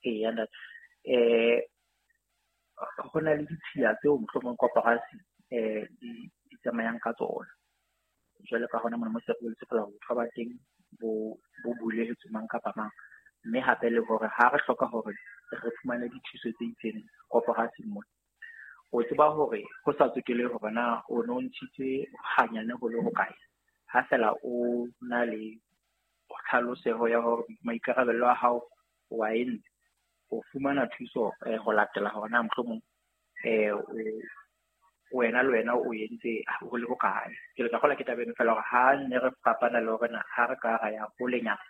Eya ntate. Ho na le ditshiya tseo mohlomong koporasi di tsamayang ka tsona. Jwalo ka hona mona mo se re boletse feela hore botho ba teng bo bulehetse mang kapa mang. Mme hape le hore ha re hloka hore re fumane dithuso tse itseng koporasing mona, o tseba hore ho sa tsotelehe hore na o no ntshitse hanyane ho le hokae, ha fela o na le tlhaloseho ya hore maikarabelo a hao wa entse, o fumana thuso ho latela hore na mohlomong wena le wena o entse ho le hokae. Ke tla kgola ke taba eno fela hore ha ne re fapana le hore na ha re ka ra ya holenyana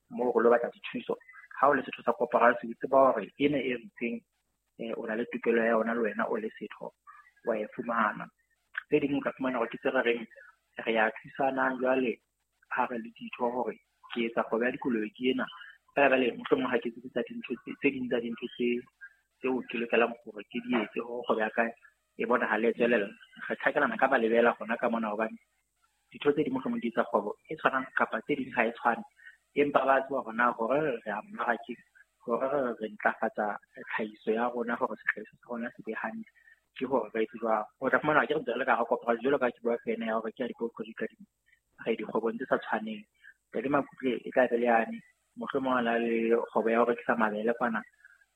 moo re lo batla dithuso, ha o le setho sa koporasi o tseba hore ena e ritseng o na le tokelo ya yona le wena o le setho wa e fumana. Tse ding o tla fumana hore ke tse re reng re ya thusanang jwale ha re le ditho hore ke etsa kgwebo ya dikolobe ke ena, fela jwale mohlomong ha ke tsebe tsa dintho tse ding tsa dintho tseo ke lokelang hore ke di etse hore kgwebo ya ka e bonahale e tswelella. Re tjhakelana ka malebela hona ka mona hobane ditho tse ding mohlomong di etsa kgwebo e tshwanang kapa tse ding ha e tshwane, empa ba tseba hore na hore re ya mmarakeng, hore re ntlafatsa tlhahiso ya rona hore sehlahiswa sa rona se be hantle, ke hore re etse jwang. O tla fumana ke re ntse re le ka hara koporasi jwalo ka ha ke bua ka ena ya hore ke ya dikadimo, re dikgwebong tse sa tshwaneng. Ntate Makutle e tla be le yane mohlomong a na le kgwebo ya ho rekisa mabele kwana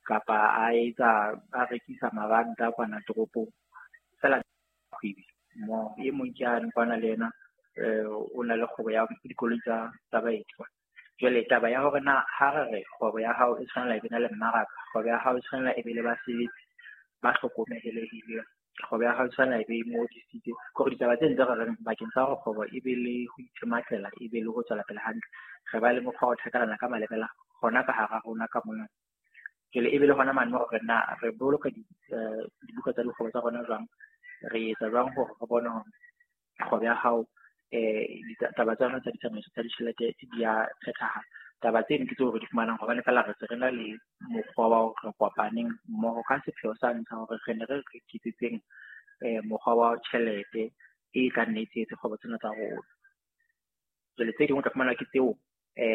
kapa a etsa a rekisa mabanta kwana toropong, fela kgwebi mo e mong ke yane kwana le yena o na le kgwebo ya dikoloi tsa baeti kwana. Jwale taba ya hore na ha re re kgwebo ya hao e tshwanela e be na le mmaraka, kgwebo ya hao e tshwanela e be le basebetsi ba hlokomelehileng, kgwebo ya hao e tshwanela e be e ngodisitse, ke hore ditaba tse ntse re reng bakeng sa hore kgwebo e be le ho itshematlela, e be le ho tswela pele hantle, re ba le mokgwa wa ho thakelana ka malebela hona ka hara rona ka mona. Jwale e be le hona mane hore na re boloka dibuka tsa dikgwebo tsa rona jwang, re etsa jwang hore re bone hore kgwebo ya hao ditaba tsa yona tsa ditsamaiso tsa ditjhelete di a phethahala. Taba tseno ke tseo re di fumanang hobane fela re se re na le mokgwa wa hore re kopaneng mmoho ka sepheo sa ntlha hore re ne re re iketsetseng mokgwa wa tjhelete e tla nne e tshehetse kgwebo tsena tsa rona. Jwale tse ding o tla fumana ke tseo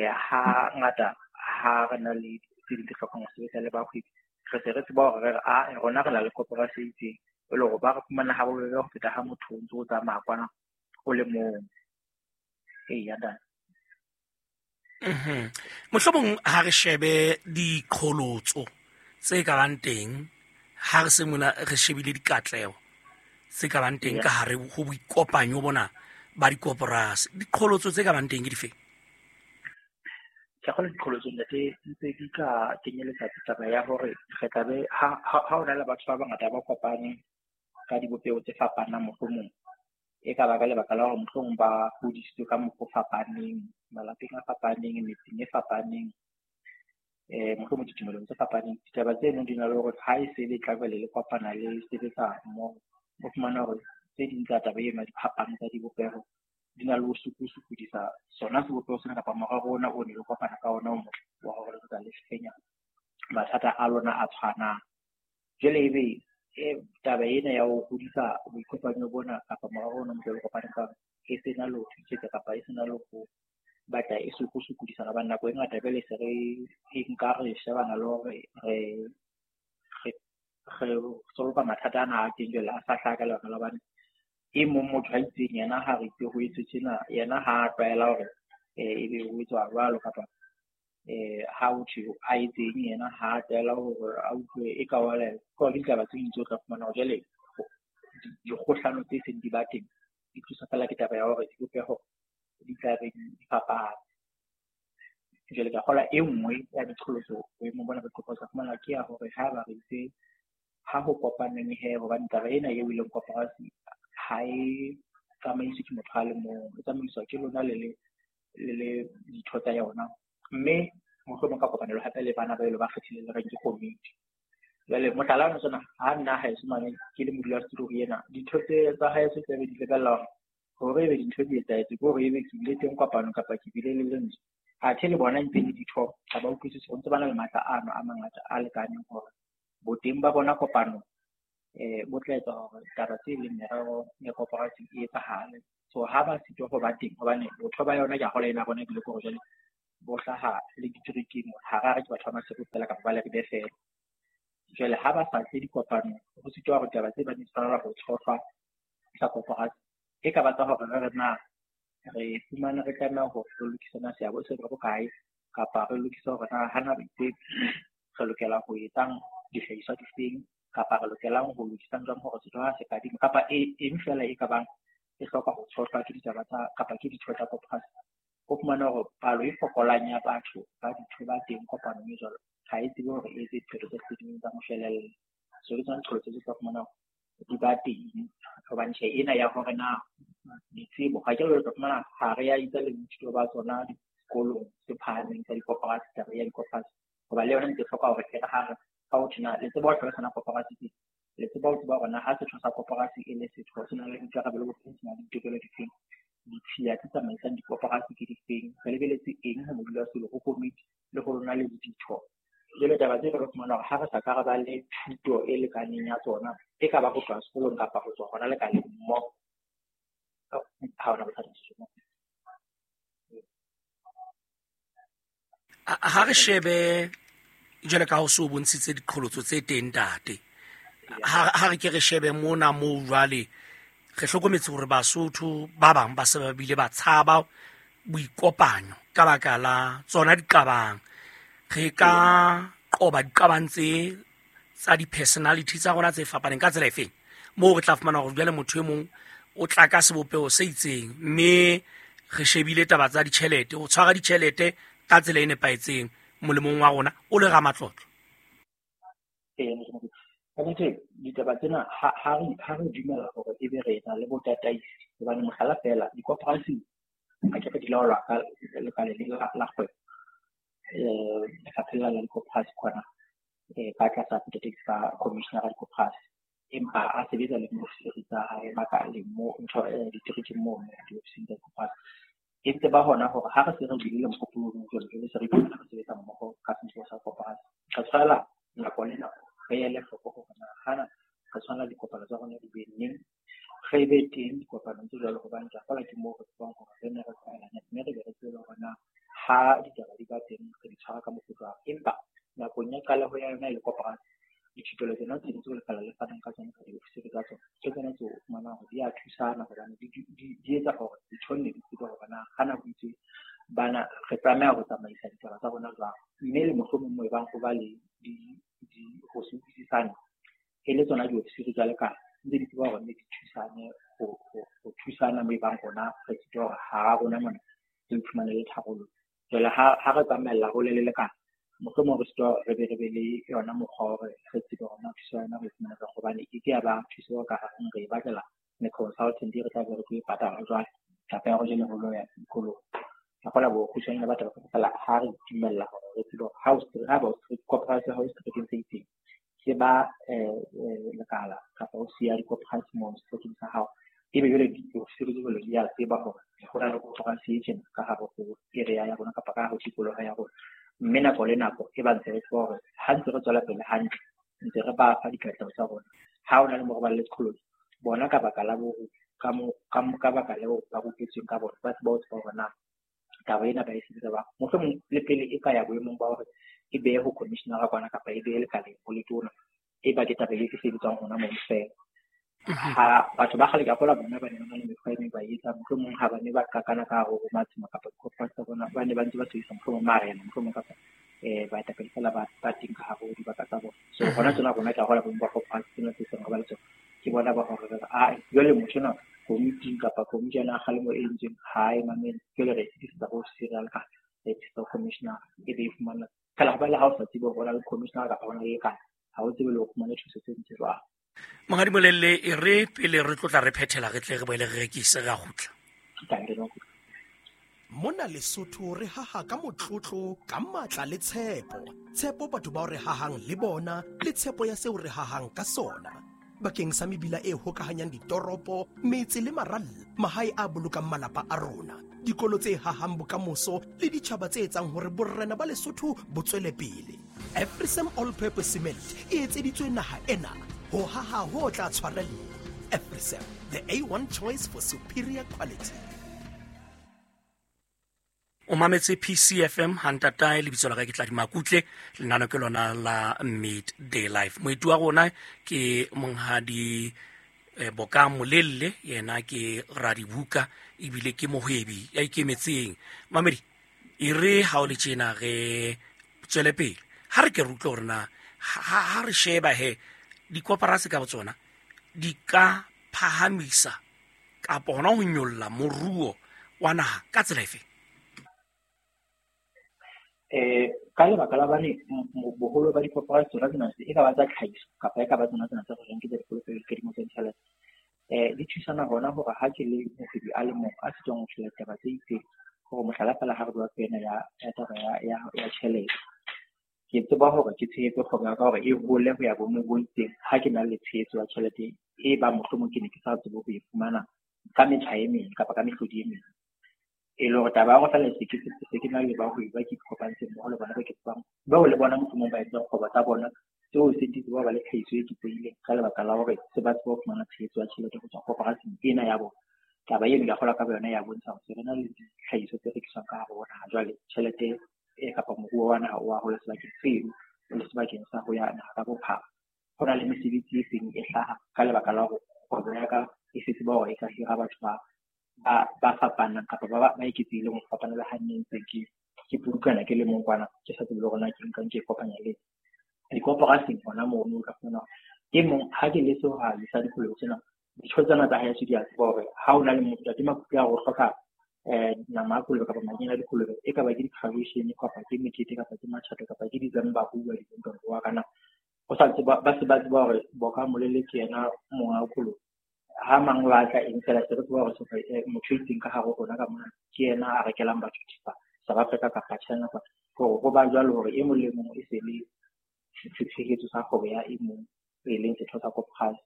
ha ngata ha re na le tse ding tse hlokang ho sebetsa le bahwebi, re se re tseba hore re re rona re na le koporasi e itseng, e le hore ba re fumana ha bobebe ho feta ha motho o ntso o tsamaya kwana o le mong. Eya, ntate. Mohlomong ha re shebe diqholotso tse ka bang teng ha re se mona re shebile dikatleho tse ka bang teng ka hare ho boikopanyo bona ba dikoporasi, diqholotso tse ka bang teng ke dife? Ke kgolwa diqholotso ntate ntse di ka kenyeletsa taba ya hore re tla be ha o na le batho ba bangata ba kopaneng ka dibopeho tse fapanang, mohlomong e ka ba ka lebaka la hore mohlomong ba hodisitswe ka mokgwa o fapaneng, malapeng a fapaneng, metseng e fapaneng, mohlomong ditumelong tse fapaneng. Ditaba tseno di na le hore ha e se le tla jwale le kopana le sebetsa mmoho, o fumana hore tse ding tsa taba eno ya diphapano tsa dibopeho di na le ho sokodisa sona sebopeho sena kapa morero ona o ne le kopana ka ona o motle wa hore le tla le fenya mathata a lona a tshwanang. Jwale ebe taba ena ya ho hodisa boikopanyo bona kapa morero ona o motle le kopaneng ka ona e sena le ho thusetsa kapa e sena le ho batla e sokodisana, hobane nako e ngata jwale se re e nka re shebana le hore re solve mathata ana a teng jwale a sa hlaha ka lebaka la hobane e mong motho a itseng yena ha re itse ho etswe tjena, yena ha a tlwaela hore ebe ho etswa jwalo kapa ha ho thwe a etseng yena ha a tlwaela hore a utlwe e ka wela. Ke hore ke ditaba tse ding tseo o tla fumana hore jwale dikgohlano tse seng di ba teng di tliswa fela ke taba ya hore dibopeho di tla be di fapane. Jwale ka kgolwa e nngwe ya diqholotso boemong bona ba dikopo tsa fumana ke ya hore ha ba re itse ha ho kopaneng he, hobane taba ena eo e leng koporasi ha e tsamaiswe ke motho a le mong, e tsamaiswa ke lona le le ditho tsa yona, mme mohlomong ka kopanelo hape le bana ba elo ba kgethileng le reng ke komiti. Jwale mohlala ona tsona ha nna haeso mane ke le modulasetulo ho ena, ditho tse tsa haeso tse be di lebella hore ebe dintho di etsahetse, ke hore ebe ke bile teng kopano kapa ke bile le lentswe. Athe le bona ntse le ditho ha ba utlwisise hore ntse ba na le matla ano a mangata a lekaneng hore boteng ba bona kopano bo tla etsa hore taba tse leng merero ya koporasi e etsahale. So ha ba sitwa ho ba teng hobane botho ba yona ke a kgolwa ena rona ebile ke hore jwale bo hlaha le diterekeng, ha ra re ke batho ba Maseru fela kapa ba Leribe fela. Jwale ha ba sa tle dikopanong, ho sitwa hore taba tse ba di tshwanela ho tshohlwa tsa koporasi e ka ba tsa hore re re na re fumane re tlameha hore re lokise na seabo se re bokae, kapa re lokise hore na hana itse re lokela ho etsang dihlahiswa difeng, kapa re lokelang ho lokisang jwang hore setho ha se kadima, kapa eng fela e ka bang e hloka ho tshohlwa ke ditaba tsa kapa ke ditho tsa koporasi. O fumane hore palo e fokolang ya batho ba ditho ba teng kopanong e jwalo ha e tsebe hore e etse diphetho tse ding tsa moshwelella. So ke tsona diqholotso tse tla fumana hore di ba teng, hobane tjhe ena ya hore na ditsebo ga ke re tla fumana ha re ya itsa le boithuto ba tsona dikolong tse phahameng tsa dikoporasi, taba ya dikoporasi, hoba le yona ntse hloka hore e re ha re ka ho thena le tseba ho hlalosa na koporasi ke le tseba ho tseba hore na ha setho sa koporasi e le setho se na le boikarabelo bo feng, se na le ditokelo difeng, ditshiya tse tsamaisang dikoporasi ke difeng, re lebeletse eng ho modulasetulo, ho komiti le ho lona le ditho. Jwale taba tse re fumana hore ha re sa ka re ba le thuto e lekaneng ya tsona, e ka ba ho tloha sekolong kapa ho tswa hona lekaleng mmoho, ha hona bothata. Ha re shebe jwale ka ho se o bontshitse diqholotso tse teng ntate, ha re ke re shebe mona moo jwale re hlokometse hore Basotho ba bang ba se ba bile ba tshaba boikopanyo ka baka la tsona diqabang. Re ka qoba diqabang tse tsa di-personality tsa rona tse fapaneng ka tsela efeng, moo re tla fumana hore jwale motho e mong o tla ka sebopeho se itseng, mme re shebile taba tsa ditjhelete, ho tshwara ditjhelete ka tsela e nepahetseng molemong wa rona o le ramatlotlo. Ka nnete ditaba tsena ha re dumela hore ebe re na le botataisi, hobane mohlala fela dikoporasi ha ke re di laolwa ka lekaleng la kgwebo, lefapheng la dikoporasi kwana, ka tlasa botataisi ba commissioner ya dikoporasi, empa a sebetsa le diofisiri tsa hae makaleng mo ntho diterekeng moo diofising tsa dikoporasi. E ntse ba hona hore ha re se re bile le mohopolo o jwalo, jwale se re iphumana re sebetsa mmoho ka sebopeho sa koporasi, re tshwanela nako le nako re ele hloko hore na hana re tshwanela dikopano tsa rona di be neng, re be teng dikopanong tse jwalo, hobane ke a kgolwa ke moo re tsebang hore re ne re tlwaelane, mme re be re tsebe hore na ha ditaba di ba teng re di tshwara ka mofuta wa. Empa nakong ya qaleho ya yona e le koporasi, dithupelo tsena tse ding tseo lekala le fanang ka tsona ka diofisiri tsa tsona, ke tsona tseo o fumanang hore di a thusana, hobane di etsa hore ditho nne di tsebe hore na ha nako e ntse bana re tlameha ho tsamaisa ditaba tsa rona jwang, mme le mohlomong moo e bang ho ba le ho se utlwisisane, e le tsona diofisiri tsa lekala ntse di tseba hore nne di thusane ho thusana moo e bang rona re tsebe hore ha rona mona re iphumanele tharollo. Jwale ha re tsamaella hole le lekala, mohlomong re sitwa re be le yona mokgwa wa hore re tsebe hore na thuso ya yona re e fumana jwang, hobane e ke ya ba thuso ka hareng re e batlela me-consultant re tla be re tlo e patala jwale, kapa ya hore jwale re lo ya dikolong. Ka kgola bokgutshwanyane ba taba fela ha re dumella hore re tsebe hore ha ba o koporasi ha o seterekeng se itseng, se ba lekala kapa o siya dikoporasi moo seterekeng sa hao, ebe jwale diofisiri tse jwalo di a tseba hore ho na le koporasi e tjena ka hare ho area ya rona kapa ka hare ho tikoloho ya rona. Mme nako le nako e ba ntse re tseba hore ha ntse re tswela pele hantle, ntse re ba fa dikatleho tsa rona. Ha ho na le moo re ba le qholotso, bona ka baka la bo ka baka leo ba rupetsweng ka bona, ba tseba ho tseba hore na taba ena ba e sebetsa jwang. Mohlomong le pele e ka ya boemong ba hore e behe ho commissioner kwana kapa e behe lekaleng ho letona, e ba ke taba e sebetswang hona moo fela. Ha batho ba kgale ka kgola bona ba ne ba na le mekgwa e meng ba e etsang, mohlomong ha ba ne ba qakana ka hare ho matshemo kapa dikoporasi tsa bona, ba ne ba ntse ba sebedisa mohlomong marena, mohlomong kapa baetapele fela ba teng ka hare ho dibaka tsa bona. So hona tsena rona ke a kgola boemo ba koporasi tsena tse seng re ba le tsona, ke bona ba hore re re, jwale motho enwa komiting kapa komiti ya kgalemo e entsweng ha e mamele, jwale re e fetisetsa ho serial ka re e fetisetsa ho commissioner, e be e fumana fela. Hobane ha o sa tsebe hore ho na le commissioner kapa ho na le lekala, ha o tsebe le ho fumana thuso tse ntse jwang. Monghadi Molelle, e re pele re tlotla re phethela, re tle re boele re rekise, re a kgutla. Mona Lesotho re haha ka motlotlo, ka matla le tshepo. Tshepo batho bao re hahang le bona, le tshepo ya seo re hahang ka sona. Bakeng sa mebila e hokahanyang ditoropo, metse le maralla, mahae a bolokang malapa a rona, dikolo tse hahang bokamoso le ditjhaba tse etsang hore borena ba Lesotho bo tswele pele. Afrisam All Purpose Cement e etseditswe naha ena ho haha ho tla tshwarella. Afrisam, the A1 choice for superior quality. O mametse PCFM hantatae, lebitso la ka ke Tladi Makutle, lenano ke lona la Midday Life. Moeti wa rona ke monghadi Boka Molelle, yena ke radibuka ebile ke mohwebi ya ikemetseng. Mamedi, e re ha o le tjena re tswele pele, ha re ke re utlwe hore na ha re sheba he dikoporasi ka botsona di ka phahamisa kapa hona ho nyolla moruo wa naha ka tsela efe? Ka lebaka la bane boholo ba dikoporasi tsona tsena e ka ba tsa tlhahiso kapa e ka ba tsona tsena tsa reng ke tsa dikoloto tsa ditjhelete, di thusana hona hore ha ke le mohwebi a le mong a sitwang ho tjhela taba tse itseng, hore mohlala fela ha re bua ka ena ya taba ya tjhelete, ke tseba hore ke tshehetse kgwebo ya ka hore e hole ho ya boemong bo itseng. Ha ke na le tshehetso ya tjhelete e bang mohlomong ke ne ke sa tsebe ho e fumana ka metjha e meng kapa ka mehlodi e meng, e le hore taba ya hore fela se ke na le bahwebi ba ke ikopantseng mmoho le bona ba ke tsebang, bao le bona mohlomong ba etsang kgwebo tsa bona tseo se di tseba ba le tlhahiso e eketsehileng ka lebaka la hore se ba tseba ho fumana tshehetso ya tjhelete ho tswa koporasing ena ya bona. Taba eno ke kgolwa ka boyona ya bontsha hore se re na le ditlhahiso tse rekiswang ka hare ho naha. Jwale tjhelete e kapa moruo wa naha o wa hola sebakeng seno le sebakeng sa ho ya naha ka bophara. Ho na le mesebetsi e seng e hlaha ka lebaka la hore kgwebo ya ka e se tseba hore e ka hira batho ba fapanang kapa ba eketsehileng ho fapana le ha nne ntse ke pudukana ke le mong kwana, ke sa tsebe le hore na ke nkang ke kopanya le dikoporasing hona mono. O tla fumana e mong ha ke le sehwai sa dikolobe tsena, ditho tsena tsa haeso di a tseba hore ha o na le motho Ntate Makutle a re o hloka nama ya kolobe kapa manyena a dikolobe, e ka ba ke di-graduation kapa ke mekete kapa ke matjhato kapa ke December ho bua wa kana o sa tseba, ba se ba tseba hore Boka Molelle ke yena monga kolobe. Ha mang wa tla eng fela se re tseba hore motho e itseng ka hare ho rona ka mona ke yena a rekelang batho thepa South Africa kapa China, hore ho ba jwalo hore e mong le mong e se le setshehetso sa kgwebo ya e mong e leng setho sa koporasi.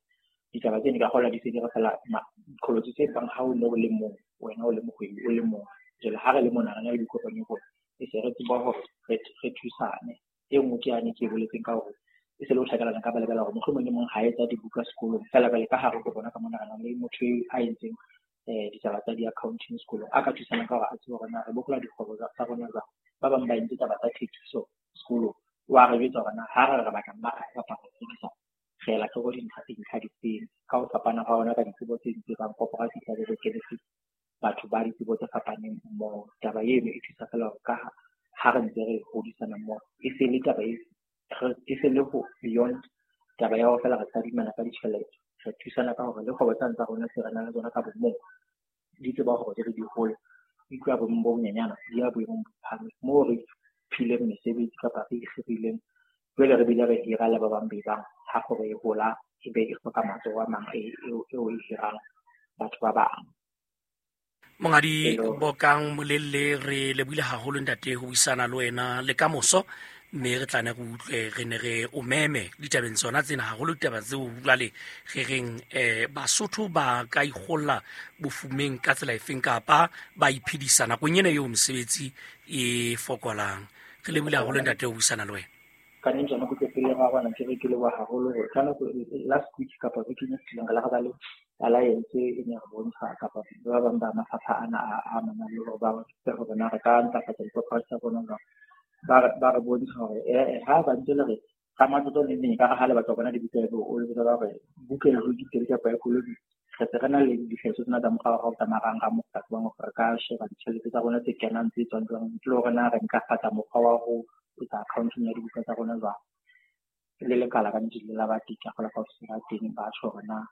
Ditaba tseno ka kgolwa di se di re fela diqholotso tse bang ha o ne o le mong, wena o le mohwebi o le mong. Jwale ha re le mona re na le dikopanyo hore e se re tseba hore re thusane. E nngwe ke yane ke e boletseng ka hore e se le ho tjhakelana ka ba lebala hore mohlomong e mong ha etsa dibuka sekolong fela jwale ka hare ho rona ka mona re na le motho a entseng ditaba tsa di-accounting sekolong a ka thusanang ka hore a tsebe hore na re bokola dikgwebo tsa rona jwang. Ba bang ba entse taba tsa thekiso sekolong, wa re jwetsa hore na ha re re batla mmaraka kapa ho rekisa re ela hloko dintlha difeng ka ho fapana ha ona ka ditsebo tse ding tse bang koporasi tla be re kenetse batho ba ditsebo tse fapaneng mmoho. Taba eno e thusa fela hore ka ha re ntse re hodisana mmoho, e se le taba e se le ho beyond taba ya hore fela re tadimana ka ditjhelete, re thusana ka hore le kgwebo tsane tsa rona tse re nang le tsona ka bomong di tseba hore di re di hole, di tloha boemong bo bonyenyana di ya boemong bo phahameng moo re phileng mesebetsi kapa re ikgirileng. Jwale re bile re hira le ba bang be bang ha kgwebo e hola e be e hloka matsoho a mang eo e hirang batho ba bang. Monghadi Bokang Molelle, re lebohile haholo ntate ho buisana le wena le kamoso, mme re tla ne re utlwe re ne re o meme ditabeng tsona tsena, haholo ditaba tseo jwale re reng Basotho ba ka ikgolla bofumeng ka tsela efeng kapa ba iphedisa nakong ena eo mesebetsi e fokolang. Re lebohile haholo ntate ho buisana le wena. Ka nnete tsona kutlwe pele ga rona ke re ke leboha haholo hore ka nako last week kapa bekeng e fetileng re la re ba le alliance e ne re bontsha kapa ba bang ba mafapha ana a amanang le hore ba re hore na re ka ntlafatsa dikoporasi tsa rona jwang. Ba re bontsha hore ha ba ntse le re ka matlotlo le neng ka re ha le batla ho bona dibuka eo o le botsa hore buka e ho diteng kapa ya koloi, re se re na le dihlahiswa tsena tsa moraorao tsa marangrang mo re ka tsebang hore re ka sheba ditjhelete tsa rona tse kenang tse tswang jwang, ntle le hore na re ntlafatsa mokgwa wa ho etsa accounting ya dibuka tsa rona jwang. Le lekala ka nnete le la ba teng, ka kgolwa kaofela teng ba tjho hore na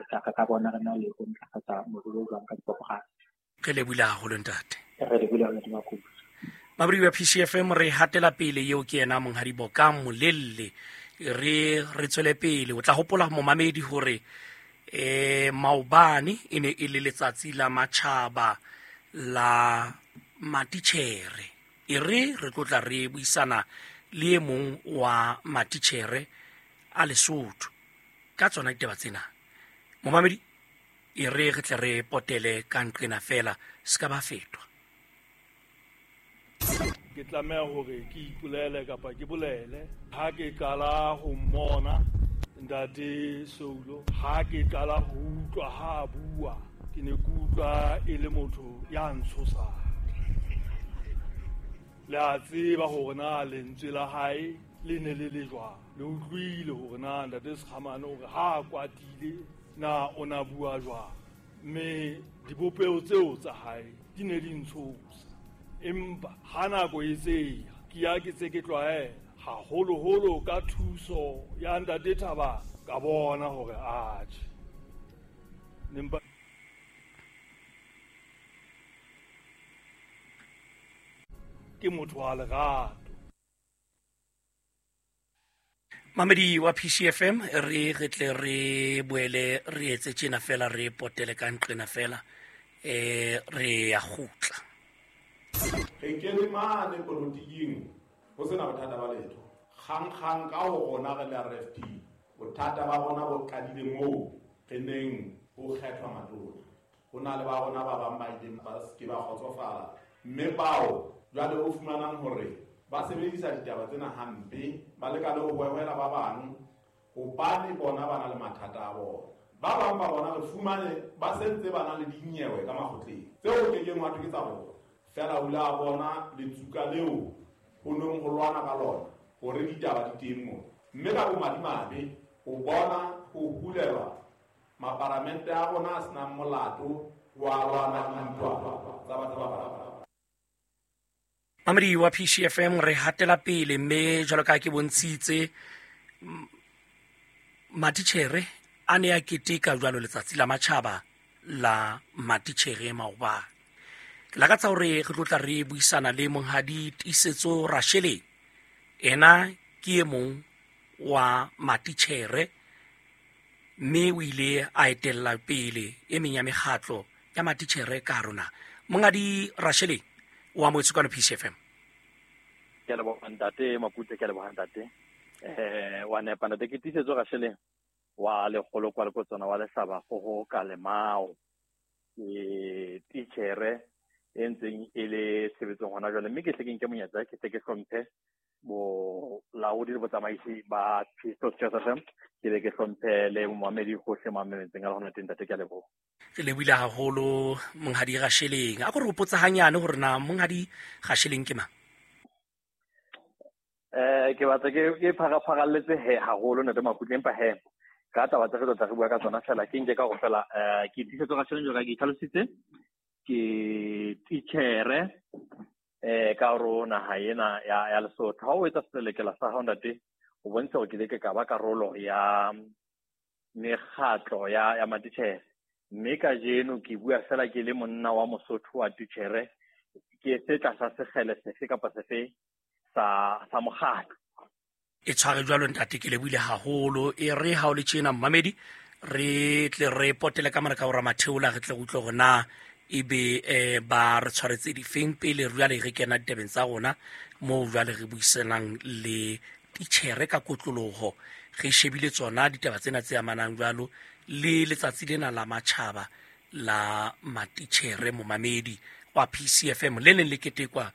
ka ka bona re na le ho ntlafatsa moruo jwang ka dikoporasi. Re lebohile haholo ntate. Re lebohile haholo ntate Makubu. Mabri wa PCFM re hatela pele, eo ke yena monghadi Bokang Molelle. Re tswele pele. O tla hopola momamedi hore maobane e ne e le letsatsi la matjhaba la matitjhere. E re re tlotla re buisana le e mong wa matitjhere a Lesotho ka tsona ditaba tsena. Momamedi, e re re tle re potele ka nqena fela se ka ba fetwa. Ke tlameha hore ke ipolele kapa ke bolele ha ke qala ho mmona ntate Soulo, ha ke qala ho utlwa ha bua, ke ne ke utlwa e le motho ya ntshosang. Le a tseba hore na lentswe la hae le ne le le jwang. Le utlwile hore na ntate Sekgamane hore ha a kwatile na o na bua jwang. Mme dibopeho tseo tsa hae di ne di ntshosa. Empa ha nako e tseya ke ya ke tse ke tlwaela haholoholo ka thuso ya ntate Thabang ka bona hore atjhe. Nempa ke motho wa lerato. Mamedi wa PCFM re re tle re boele re etse tjena fela re potele ka nqena fela re ya kgutla. Re kene mane polotiking ho sena bothata ba letho. Kgang ka ho rona re le RFP bothata ba rona bo qadile moo re neng ho kgethwa matona. Ho na le ba rona ba bang ba ileng ba se ke ba kgotsofala mme bao jwale o fumanang hore ba sebedisa ditaba tsena hampe ba leka le ho hwehwela ba bang hobane bona ba na le mathata a bona. Ba bang ba bona re fumane ba sentse ba na le dinyewe ka makgotleng tseo ke keng wa thwe ke tsa bona. Fela o la bona letsuka leo ho neng ho lwana ka lona hore ditaba di teng moo. Mme ka bomadimabe o bona ho hulelwa maparamente a rona a senang molato wa lwana dintwa tsa batho ba bang. Mamedi wa PCFM re hatela pele mme jwalo ka ke bontshitse matitjhere a ne a keteka jwalo letsatsi la matjhaba la matitjhere maobane. Ke lakatsa hore re tlo tla re buisana le monghadi Tiisetso Rasheleng. Ena ke e mong wa matitjhere mme o ile a etella pele e meng ya mekgatlo ya matitjhere ka rona. Monghadi Rasheleng o amohetswe kwano PCFM. Ke a leboha ntate Makute, ke a leboha ntate. Wa nepa ntate, ke Tiisetso Rasheleng wa lekgolo kwa Lekotswana wa Lehlaba Kgoho ka Lemao. Ke titjhere e ntseng e le tshebetsong hona jwale, mme ke hle ke nke monyetla ke tle ke hlomphe bolaodi le botsamaisi ba Christos Church FM, ke be ke hlomphe le momamedi hohle mo mametseng a le hona teng ntate, ke a leboha. Re lebohile haholo monghadi Rasheleng. A ko re hopotsa hanyane hore na monghadi Rasheleng ke mang? Ke batla ke pharapharalletse he haholo ntate Makutle, empa he ka taba tse re tlo tla re bua ka tsona fela ke nke ka hore fela ke Tiisetso Rasheleng jwalo ka ke itlhalositse, ke titjhere ka hore naha ena ya Lesotho. Ha o etsa selelekela sa hao ntate, o bontsha hore ke ile ke ka ba karolo ya mekgatlo ya matitjhere. Mme kajeno ke bua fela ke le monna wa Mosotho wa titjhere, ke se tlasa sekgele sefe kapa sefe sa mokgatlo. E tshware jwalo ntate, ke lebohile haholo. E re ha o le tjena mmamedi, re tle re potele ka mona ka hora matheola, re tle re utlwe hore na ebe ba re tshwaretse difeng pele jwale re kena ditabeng tsa rona moo jwale re buisanang le titjhere ka kotloloho. Re shebile tsona ditaba tsena tse amanang jwalo le letsatsi lena la matjhaba la matitjhere momamedi wa PCFM le neng le ketekwa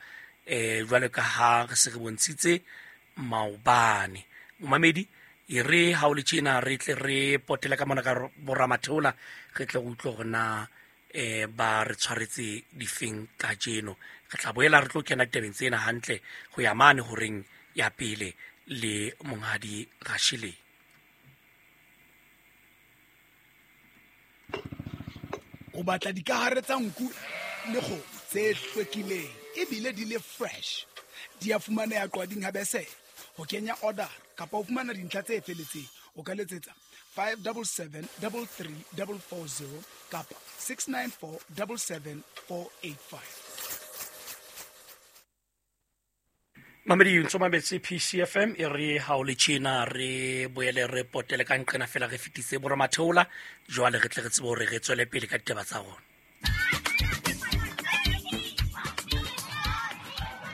jwalo ka ha re se re bontshitse maobane. Momamedi e re ha o le tjena re tle re potele ka mona ka boramatheola, re tle re utlwe hore na ba re tshwaretse difeng kajeno. Re tla boela re tlo kena ditabeng tsena hantle ho ya mane horeng ya pele le monghadi Rasheleng. O batla dikahare tsa nku le kgomo tse hlwekileng ebile di le fresh. Di a fumaneha Qwading ha Besele. Ho kenya order kapa ho fumana dintlha tse feletseng o ka letsetsa 577 33440 kapa 694 77485. Mamedi ntso mametse PCFM e re ha o le tjena re boele re potele ka nqena fela re fetise boramatheola jwale re tle re tsebe hore re tswele pele ka ditaba tsa rona.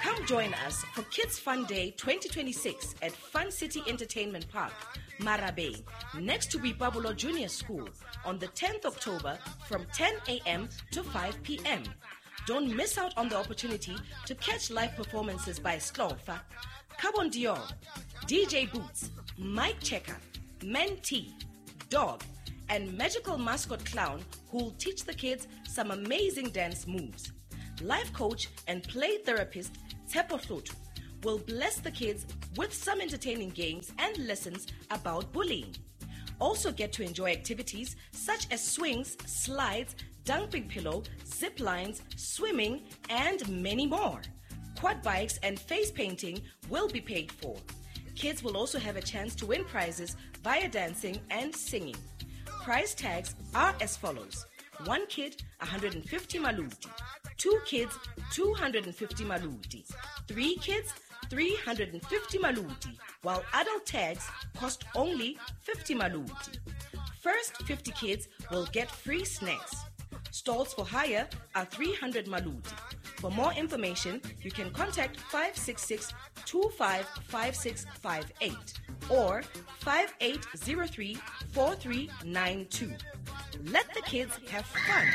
Come join us for Kids Fun Day 2026 at Fun City Entertainment Park, Marabeng, next to Boipabolo Junior School on the 10th October from 10 a.m. to 5 p.m. Don't miss out on the opportunity to catch live performances by Slorfa, Carbon Dior, DJ Boots, Mike Checker, Mentee, Dog, and magical mascot clown who'll teach the kids some amazing dance moves. Life coach and play therapist Tshepo Hloto, will bless the kids with some entertaining games and lessons about bullying. Also get to enjoy activities such as swings, slides, dumping pillow, zip lines, swimming, and many more. Quad bikes and face painting will be paid for. Kids will also have a chance to win prizes via dancing and singing. Price tags are as follows. One kid, 150 maluti. Two kids, 250 maluti. Three kids, 350 maluti, while adult tags cost only 50 maluti. First 50 kids will get free snacks. Stalls for hire are 300 maluti. For more information, you can contact 566 255658 or 5803 4392. Let the kids have fun.